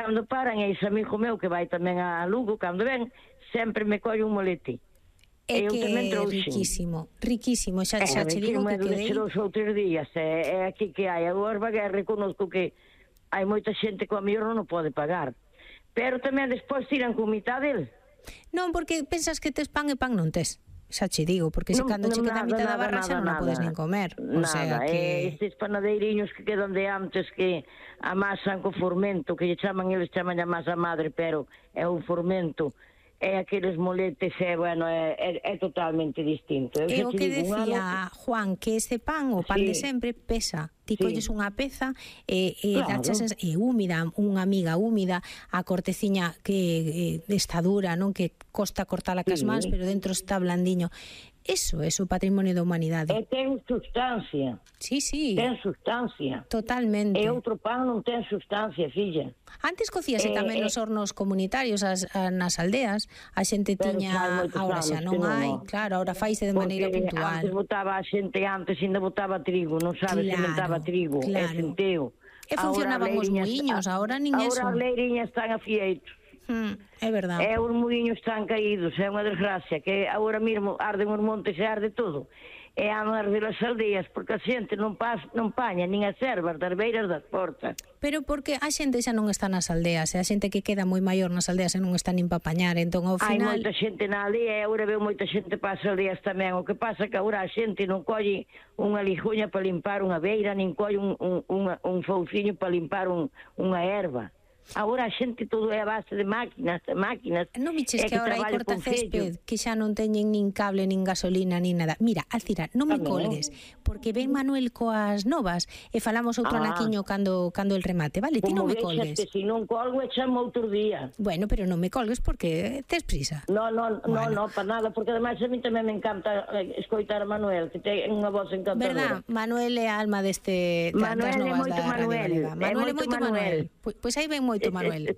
cando paran, e ese amigo meu que vai tamén a Lugo, cando ven, sempre me colle un molete. É que é riquísimo, riquísimo, xa che digo que quedei... É, os outros días, é aquí que hai, agora reconozco que hai moita xente que a mellor non o pode pagar, pero tamén despois tiran con mitad del. Non, porque pensas que tes pan e pan non tes. Xa che digo, porque se cando che queda a mitad da barra xa non a podes nin comer. O sea que... Estes panadeiriños que quedan de antes que amasan co formento, que lle chaman, eles chaman a masa madre, pero é un formento, é aqueles moletes, bueno, é totalmente distinto. É o que decía Juan, que ese pan, o pan de sempre, pesa. Ti colles unha peza e é húmida, unha amiga húmida, a corteciña que está dura, non, que costa cortala cas mans, pero dentro está blandiño. Eso é o patrimonio da humanidade. E ten sustancia. Sí. Ten sustancia. Totalmente. E outro pan non ten sustancia, filla. Antes cocíase tamén nos hornos comunitarios nas aldeas, a xente tiña, agora xa non hai, claro, agora faise de maneira puntual. Antes botaba a xente, ainda botaba trigo, non sabes, sementaba trigo, e centeo. E funcionaban os muiños, agora nin eso. Agora as leiriñas están afieitos. É verdade. E os muiños están caídos, é unha desgracia, que agora mesmo arden os montes e arde todo. E han arde as aldeas, porque a xente non paña nin as ervas das beiras das portas. Pero porque a xente xa non está nas aldeas, e a xente que queda moi maior nas aldeas e non está nin pa pañar, entón ao final... Hai moita xente na aldea, e agora veo moita xente para as aldeas tamén. O que pasa que agora a xente non colle unha lixuña para limpar unha beira, nin colle un fouciño para limpar unha erva. Agora a xente todo é a base de máquinas. Non viches que agora hai corta césped que xa non teñen nin cable, nin gasolina, nin nada. Mira, Alcira, non me colgues, porque ven Manuel coas novas e falamos outro anaquiño cando el remate, vale? Ti non me colgues. Que se non colgo e chamo outro día. Bueno, pero non me colgues porque tes prisa. No, para nada, porque ademais a mí tamén me encanta escoitar a Manuel, que ten unha voz encantadora. Verdad, Manuel é a alma das novas da Radio Galega. Manuel é moito Manuel. Pois aí ven moito Manuel.